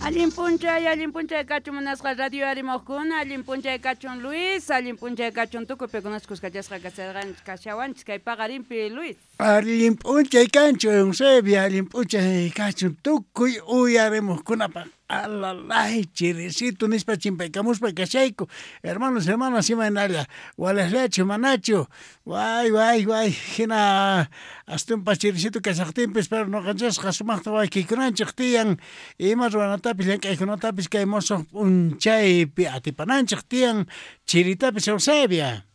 Allin p'unchay kachun munasqa radio arimojkuna, allin p'unchay kachun Luis, allin p'unchay kachun tukuy pikunas kuskachasqa kasharqanchis kashawanchis kay paqarinpi Luis. Allin p'unchay kanchu Eusebia, allin p'unchay kachun tukuy uyarimojkunapaq. Alalay chirisito nispa chimpaykamuspa kashayku. Hermanos, hermanas, imaynalla, walejllachu manachu, way way way, hina astumpas chirisito kashaqtinpis, pero noqanchisqa sumaqta waykiykunanchik tiyan, ima ruwanatapis llank'aykunatapis kay mosoq p'unchaypi atipananchik tiyan chiritapis Eusebia.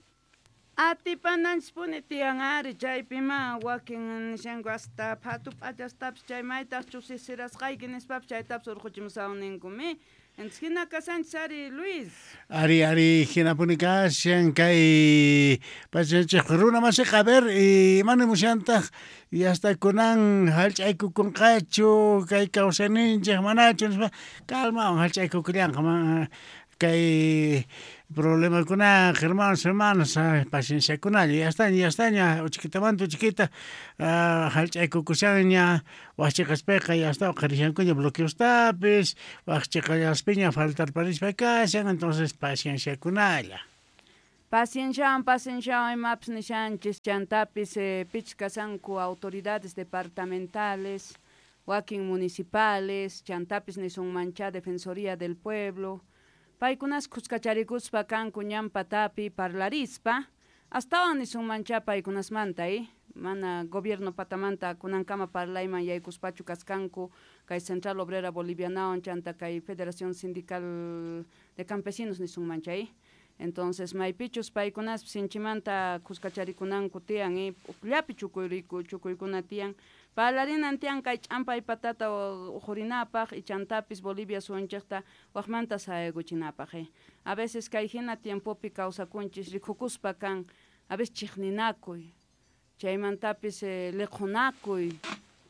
Atipananchispuni tiyan ari, chaypima wakin nishanku hasta phatu p'achastapis chay maytaqchus sisirasqayki nispapis chaytapis urquchimusawun ninkumi. Entonces hina kasanchis ari Luis. Ari, ari, hinapuni kashan kay pachanchik runa masiqa, a ver, imani musyantaq y hasta kunan hallch'aykukunqachu kay kawsayninchik manachu nispa, calmawan hallch'aykukullanqa kay problemakunaqa, hermanos, hermanas, pacienciakunalla, ya estaña, ya estaña, uchikitamanta uchikita hallch'aykukushanña, wajchiqaspiqa ya está uqharishankuña bloqueostapis, wajchiqallaspiña faltarparispa kashan, entonces pacienciakunalla. Pacienciawan, pacienciawan imapis nishanchis, chantapis pichis kashanku autoridades departamentales, wakin municipales, chantapis nisunmancha Defensoría del Pueblo, paykunas kuskacharikuspa kanku ñan patapi parlarispa, astawan nisunmancha paykunasmanta, mana gobierno patamanta kunankama parlayman yaykuspachu kaskanku kay Central Obrera Bolivianawan chanta kay Federación Sindical de Campesinos nisunmancha, Entonces maypichus paykunaspis sinchimanta kuskacharikunanku tiyan, ujllapi chukuykuna tiyan, parlarinan tiyan kay ch'ampay patata ujurinapaq y chantapis Bolivia suwanchikta waqmanta sayaykuchinapaq. A veces kay hina tiempopi kawsakunchis rikukuspa kan, a veces chiqninakuy, chaymantapis liqhunakuy,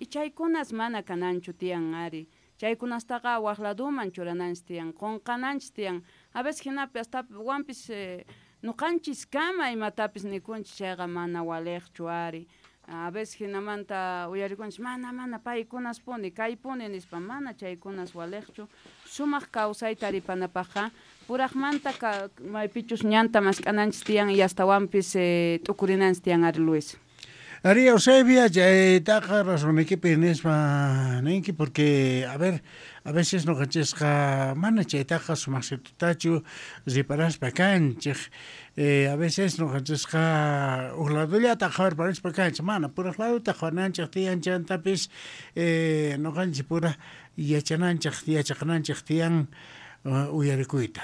y chaykunas mana kananchu tiyan ari, chaykunastaqa waq laduman churananchis tiyan, qunqananchis tiyan, a veces hinapi hasta wampis nuqanchis kama imatapis nikunchis chayqa mana waliqchu ari. A veces hinamanta uyarikunchis mana mana paykunaspuni kaypuni nispa, mana chaykunas waliqchu. Sumaq kawsayta taripanapaqqa puraqmanta maypichus ñanta mask'ananchis tiyan y astawanpis t'ukurinanchis tiyan ari Luis. Ari Eusebia, chaytaqa razonnikipi nispa ninki, porque a ver, a veces noqanchisqa mana chaytaqa sumaqsitutachu riparaspa kanchik, a veces noqanchisqa uj ladollata qhawarparispa kanchik, mana puraq ladota qhawananchik tiyan, chantapis noqanchik pura yachananchik, yachaqananchik tiyan uyarikuyta.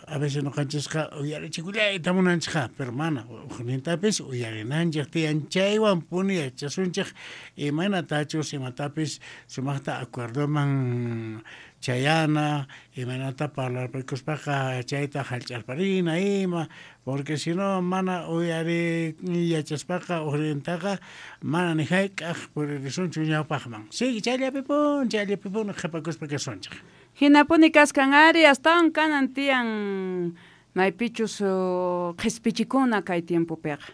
A veces noqanchisqa uyarichikullayta munanchikqa, pero mana ujnintapis uyarinanchik tiyan, chaywan puni yachasunchik imaynatachus imatapis sumaqta acuerdoman chayana, imaynata parlarpakuspaqa chayta hallch'arparina ima, porque si no mana uyari yachaspaqa ujnintaqa mana ni hayk'aq puririsunchu ñawpaqman. Sigue chayllapipun, chayllapipun qhipakuspa kasunchik. Hinapuni kaskan ari, astawan kanan tiyan maypichus qhispichikuna kay tiempopiqa.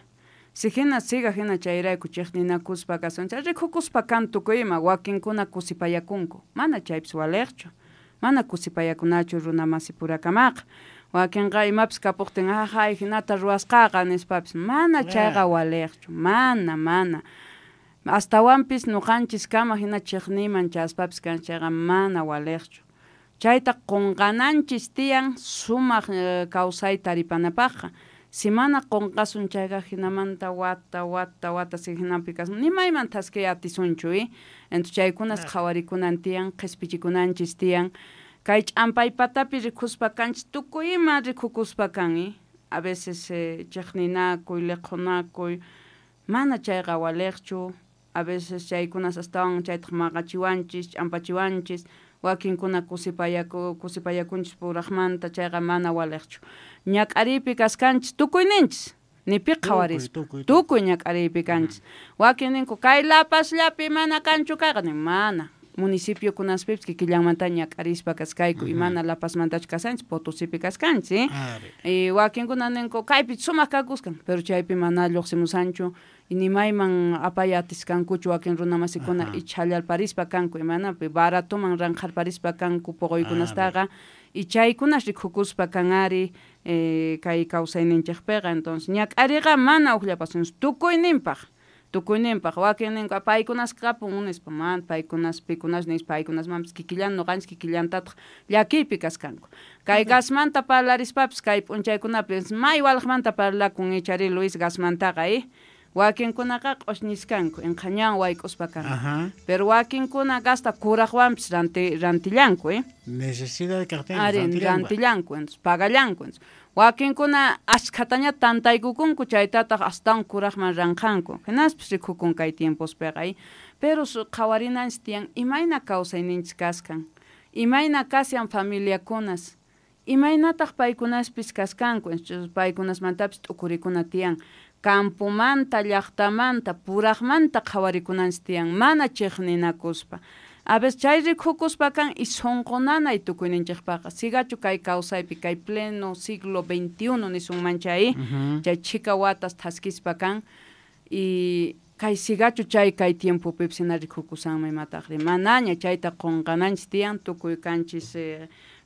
Si hina siga hina chayrayku chiqninakuspa kasunchik, rikukuspa kan tukuy ima, wakinkuna kusipayakunku, mana chaypis waliqchu, mana kusipayakunachu runa masi purakamaqa. Wakinqa imapis kapuqtin, ajay hinata ruwasqaqa nispapis, mana chayqa waliqchu, mana, mana. Astawanpis nuqanchis kama hina chiqniyman chaspapis kan chayqa mana waliqchu. Chayta qunqananchis tiyan sumaq kawsayta taripanapaqqa. Si mana qunqasun chayqa hinamanta wata, wata, wata si hinapi kasun, ni mayman thaskiy atisunchu, Entonces chaykunas qhawarikunan tiyan, qhispichikunanchis tiyan. Kay ch'ampay patapi rikuspa kanchis, tukuy ima rikukuspa kan, A veces chiqninakuy, liqhunakuy, mana chayqa waliqchu. A veces chaykunas astawan chaytaq maqachiwanchis, ch'ampachiwanchis, wakinkuna kusipayakunchis puraqmanta, chayqa mana waliqchu. Ñak'ariypi kaskanchis tukuyninchis, ni pi qhawarispa, tukuy ñak'ariypi kanchis. Wakin ninku kay lapasllapi mana kanchu kayqa, nin mana. Municipio kunaspipis kikillanmanta ñak'arispa kaskayku, y mana La Pazmantachu kashanchis, Potosipi kaskanchis, y wakinkuna ninku kaypi sumaq kakuskan, pero chaypi mana lluqsimusanchu, y ni mayman apay atiskankuchu wakin runamasikuna, y chhallarparispa kanku, imanapi baratoman ranqharparispa kanku poqoykunastaqa, y chaykunas rikukuspa kan ari kay kawsayninchikpiqa. Entonces ñak'ariqa mana ukllapasunchu tukuyninpaq. Tukuyninpaq wakin ninku paykunas kapun nispa, mana paykunas pikunas nispa, paykunasmanpis kikillan noqanchis kikillantataq llakiypi kaskanku. Kay gasmanta parlarispapis kay p'unchaykunapis may walaqmanta parlakun ichari Luis gasmantaqa, wakinkunaqa q'ushñiskanku inqhañan wayk'uspa kanku, pero wakinkuna gasta kuraqwanpis rantillanku, Necesidad kaqtin ari rantillanku, entonces pagallanku, entonces wakinkuna ashkhataña tantaykukunku chaytataq astawan kuraqman ranqanku, hinaspis rikukun kay tiempospiqa, pero qhawarinanchis tiyan imayna kawsayninchis kaskan, imayna kashan familiakunas, imaynataq paykunaspis kaskanku, paykunasmantapis t'ukurikuna tiyan, campomanta, llaqtamanta, puraqmanta qhawarikunanchis tiyan, mana chiqninakuspa. A veces chay rikukuspa kan y sunqunanay tukuyninchikpaqa, sigachu kay kawsaypi kay pleno siglo XXI nisunman chay, chay chhika watas thaskispa kan, y kay sigachu chay kay tiempopipis hina rikukusanman imataqri, manaña chayta qunqananchis tiyan, tukuy kanchis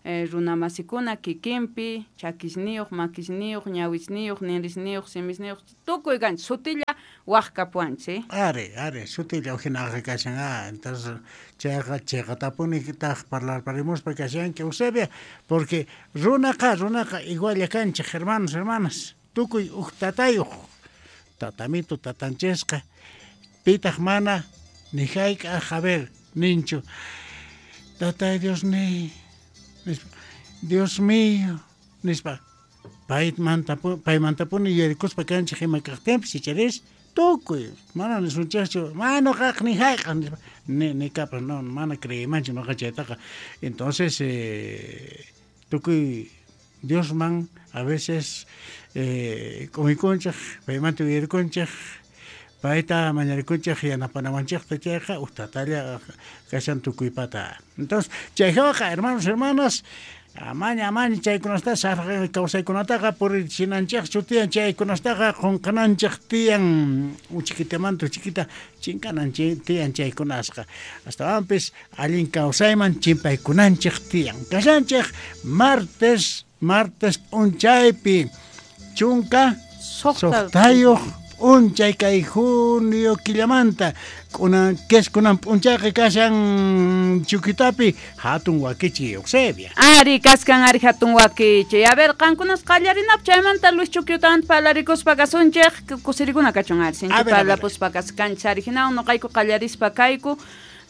runamasikuna kikinpi, chakisniyuq, makisniyuq, ñawisniyuq, ninrisniyuq, simisniyuq, tukuy kanchis, sutilla waq kapuwanchis. Ari, ari, sutilla hinaqa kashan, entonces chayqa chayqatapuni taq parlarparimuspa kashanki Eusebia, porque runaqa igualla kanchik, hermanos, hermanas, tukuy uj tatayuq, tatamito tatanchisqa, pitaq mana ni hayk'aq, a ver, ninchu, tatay Dios ni, Dios mío, nispa, paymantapuni yuyarikuspa kanchik ima kaqtinpis icharis, tukuy, mana nisunchikchu, mana nuqaq ni hayk'aq nispa, ni kapas, no, mana creeymanchu nuqa chaytaqa. Entonces, tukuy Diosman a veces k'umuykunchik, paymanta yuyarikunchik, payta mañarikunchik yanapanawanchikta chayqa uj tatalla kashan tukuypata. Entonces, chayjawaqa, hermanos, hermanas, amaña, amaña chaykunasta sarqa kawsaykunataqa purichinanchikchu tiyan, chaykunastaqa qunqananchik tiyan, uchikitamanta uchikita chinkananchik tiyan chaykunasqa. Astawanpis allin kawsayman chimpaykunanchik tiyan. Kashanchik martes p'unchaypi chunka suqtayuq p'unchay kay junio killamanta, kunan keskunan p'unchayqa kashan Chukitapi hatun wakichi Eusebia. Ari kaskan ari hatun wakichi. A ver, qankunas qallarinap chaymanta Luis Chukyutawan parlarikuspa kasunchik, kusirikuna kachun ari, sinchi parlapuspa kaskanchis ari, hinawan nuqayku qallarispa kayku,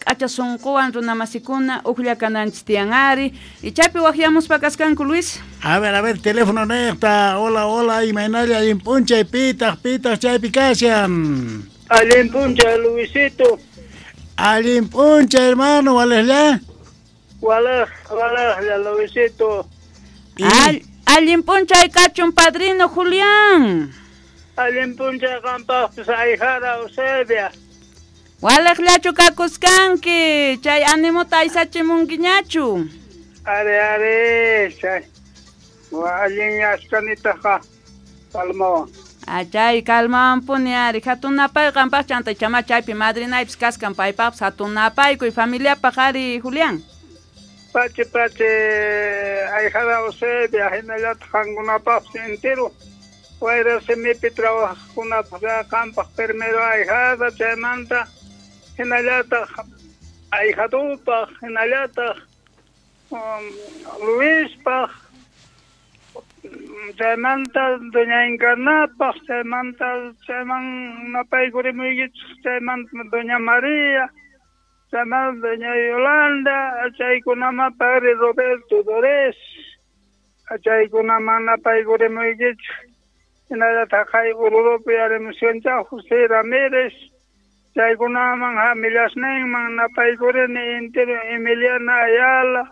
k'acha sunquwan runamasikuna uklla kananchis tiyan ari, y chaypi waqyamuspa kaskanku Luis. A ver, teléfono niqta, hola, hola, imaynalla allin p'unchay, pitaq chaypi kashan. Allin p'unchay, Luisito. Allin p'unchay, hermano, walejlla. Walejlla, Luisito. Allin p'unchay kachun, padrino Julián. Allin p'unchay qampaqpis ayjara Eusebia. Walejllachu kakuskanki, chay animuta aysachimunkiñachu. Ari, chay. Allin askanitaqa kalmawan. Achay kalmawanpuni ari, hatun napay qampaq chanta chama chaypi madrinaypis kaskan paypaqpis hatun napaykuy familiapaq ari Julián. Pache ayjara Eusebia hinallataq qankunapaqpis entero. Wayra simipi trabajaqkunapaq qampaq primero ayjada chaymanta hinallataq ayjadupaq hinallataq Luispaq chaymanta doña Encarnapaq chaymanta chayman napaykurimuykichik chaymanta doña María chaymanta doña Yolanda chaykunaman padre Roberto Dores chaykunaman napaykurimuykichik hinallataq kay Ururupi arimushanchaq José Ramírez chaykunaman hamillasninman napaykurini entero Emiliana Ayala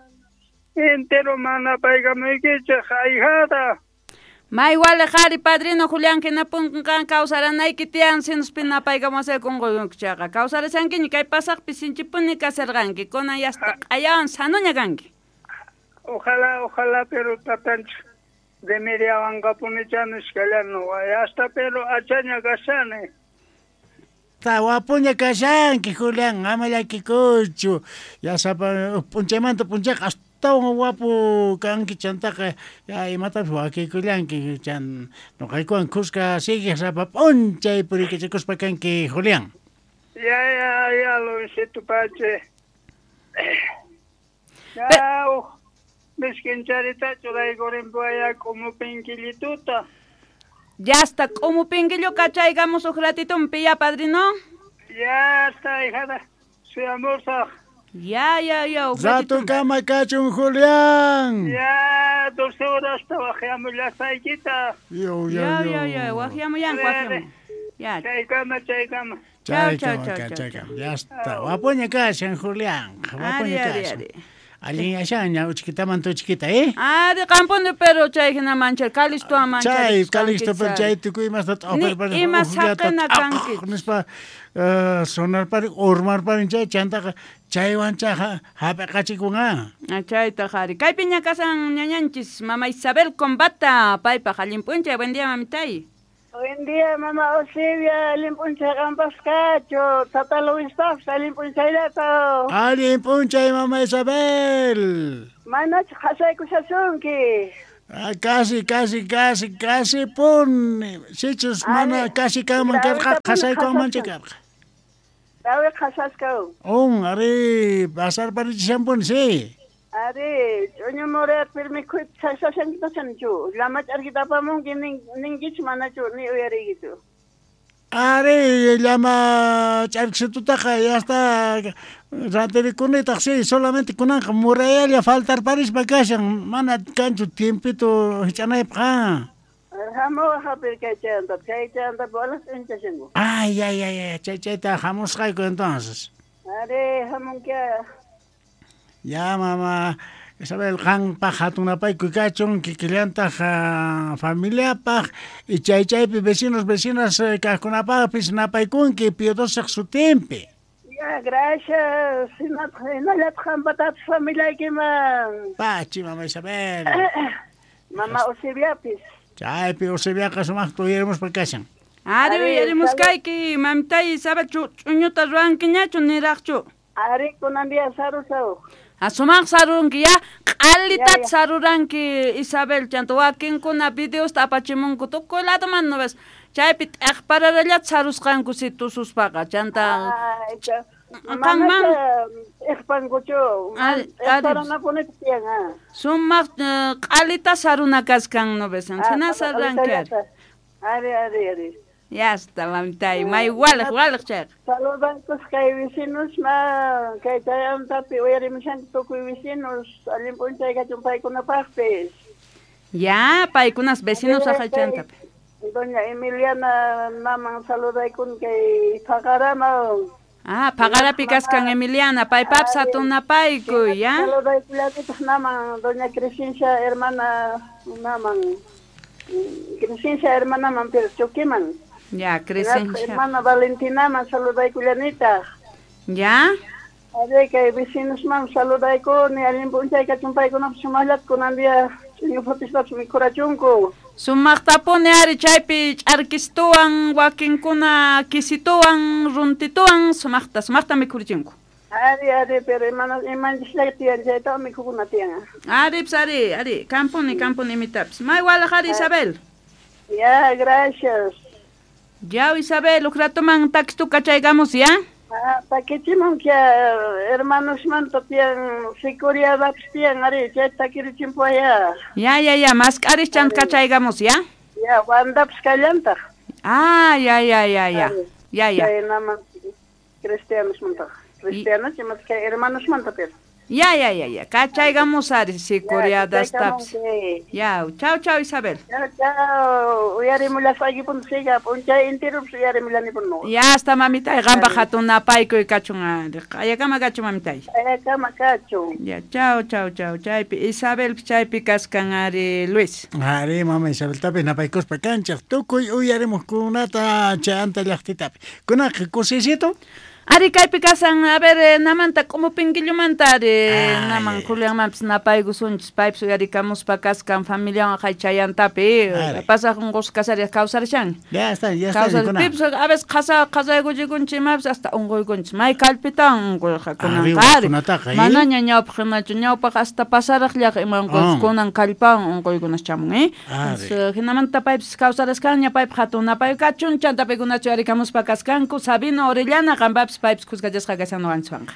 entero manapaykamuykichik ayjada. May waliq ari padrino Julián hinapunqan kawsaranayki tiyan sinuspi napaykamusayku unquyunki kawsarashankiña kay pasaqpi sinchipuni kasarqanki kunan yasta q'ayawan sanuña kanki. Ojalá, ojalá, pero tatanchik remediawanqapunicha nisqallani hasta pero achaña kashani. Wapuña kashanki Julián, ama llakikuychu. Ya sapa p'unchaymanta p'unchayqa astawan wapu kanki chantaqa ya imatapis wakikullanki chan nuqaykuwan kuska siguiq sapa p'unchay puriykachakuspa kanki Julián. Ya, ya, ya, Luisito Pache. Ya, miskincharita churaykurinpuaya k'umupinkillituta. Ya está, k'umupinkillu kachaykamus uj ratitumpi ya, padrino. Ya está, hijada. Suyamusaq. Ya, ya, ya. Rato kama kachun, Julián. Ya, 12 horas waqyamullasaykita. Yo, yo, Ya, ya, ya, waqyamuyan, waqyamu. Ya. Chaykama, chaykama. Chao, Chaykama, chao, chao, chaykama. Ya está. Wapuña kashan, Julián. Wapuña Ari, ari, kashan. ari. Allin yashaña uchkitamanta uchkita, ¿eh? Ari, qampuni pero chay hina manchar, Calisto manchar. Chay, Calisto, pero chay tukuy imasta Ni ima saqena kanki. nispa sonarparin, urmarparin chay chantaqa chaywancha hap'iqachikunqa. Chayta qhari. Kaypiña kasan ñañanchis, mama Isabel Combata, paypaq allin p'unchay. Buen día, mamitay. Buen día, mamá Eusebia, allin p'unchay qampas kachu, tata Luispaqpas allin p'unchayllato. Allin p'unchay, mama Isabel. Manachu qhasaykushasunki. Ah, casi, casi, casi, casi puni. Sichus mana casi kanman karqa, qhasaykuwanmanchu karqa. Dawi qhasaskaw. Un, ari, pasarparichishanpuni, sí. Ari, ch'uñu murat pero mikhuyta chasashankitashanchu. Llama ch'arkita apamunki ninkichu manachu ni uyariykichu. Ari, llama ch'arkisitutaqa ya está ranterikunitaq, sí, solamente kunanqa murayalla faltarparispa kashan, mana kanchu tiempito hich'anaypaq. Hamuwaq hapir kay chayanta, chay chayanta bolas ch'inchashanku. Ay, ay, ay, ay, chay chayta hamusqayku entonces. Ari, hamunkia. Ya, mama Isabel, qanpaq hatunapaykuy kachun, kikillantaq familiapaq, y chay chaypi vecinos, vecinas kaqkunapaqpis napaykunki Piedosaq sutinpi. Ya, gracias. Hinallataq qampatapis familiaykiman. Pachi, mama Isabel. Mama Eusebiapis. Chaypi Eusebiaqa sumaqta uyarimuspa kashan. Ari, uyarimuskayki, mamitay Isabel, ch'uñuta ruwankiñachu niraqchu. Ari, kunan día sarusaw. Sumaq sarunki ya, q'alitat saruranki Isabel, chanta wakinkuna videosta apachimunku tukuy ladoman no ves. Chaypi t'aqpararallat sarusqanku si tususpaqa, chanta qanman t'aqpankuchu, t'aqparanapunita tiyan. Sumaq q'alita saruna kaskan no ves, hina saruranki ari. Ari, ari, ari. Ya está, mamitay, may waliq, waliq chayqa. Saludankus kay vecinos ma, kay chayantapi uyarimushanku tukuy vecinos, allin p'unchay kachun paykunapaqpis. Ya, paykunas vecinos aqaychantapi. Doña Emiliana maman saludaykun kay Paqaraman. Ah, Paqarapi kaskan Emiliana, paypapis hatunapaykuy, ya. Saludaykullanitaq naman doña Crescencia hermana naman. Crescencia hermana man pero Choquiman. Ya, Crescencia. Hermana Valentina man saludaykullanitaq. Ya. Ari kay vecinos man saludaykuni, allin p'unchay kachun paykunapas sumaqllata kunan día ch'uñupapispapis mikhurachunku. Sumaqtapuni ari chaypi ch'arkistuwan, wakinkuna kisituwan, runtituwan, sumaqta, sumaqta mikhurichinku. Ari, ari, pero imanchisllaqa tiyan chaytaqa mikhukuna tiyan. Ari, pues, ari, ari, kampuni, kampuni imitapis. May waliq ari, Isabel. Ya, gracias. Ya, Isabel, uj ratoman takistu kachaykamus, ya? Ah, takichimunkia, hermanos manta tiyan, sicuriadapis tiyan, ari, chay takirichimpuaya. Ya, ya, ya, mask'aris chant kachaykamus, ya? Ya, wandapis kallantaq. Ah, ya, ya, ya, ya. Ya, ya. Chay naman cristianos manta. Cristianos, imat kay hermanos manta pero. Ya, ya, ya, ya. Kachaykamusari sicuriadastapis. Ya, chau, chau, Isabel. Chau, chau. Uyarimullasaykipun siga, p'unchay enteropis uyarimullanipuno. Ya, hasta mamitay, qanpaq hatun napaykuy kachun ari. Q'ayakama kachun mamitay. Q'ayakama kachun. Ya, chau, chau, chau. Chaypi Isabel chaypi kaskan ari Luis. Ari, mama Isabeltapis napaykuspa kanchaq tukuy uyarimuqkunata chayanta llaqtitapi. Kunaqa kusisito. Ari kaypi kasan, a ver, namanta k'umupinquillumanta ari naman Julianmanpis napaykusunchis, paypis uyarikamuspa kaskan familiawan qay chayantapi, pasaq unqusqa kasariq kawsarishan. Ya está, ya está. Pipis a veces qhasaykuchikunchis imapis hasta unquykunchis, may kallpitawan unquyqa kunanqa ari. Manaña ñawpaq hinachu, ñawpaq hasta pasaraqllaqa ima unquypas, kunan kallpawan unquykunas chamun, eh. Hinamanta paypis kawsaraskanña, paypaq hatun napay kachun, chanta paykunachu uyarikamuspa kaskanku, Sabino Orellana, qanpapis paypis khuskachasqa kashan noqanchikwanqa.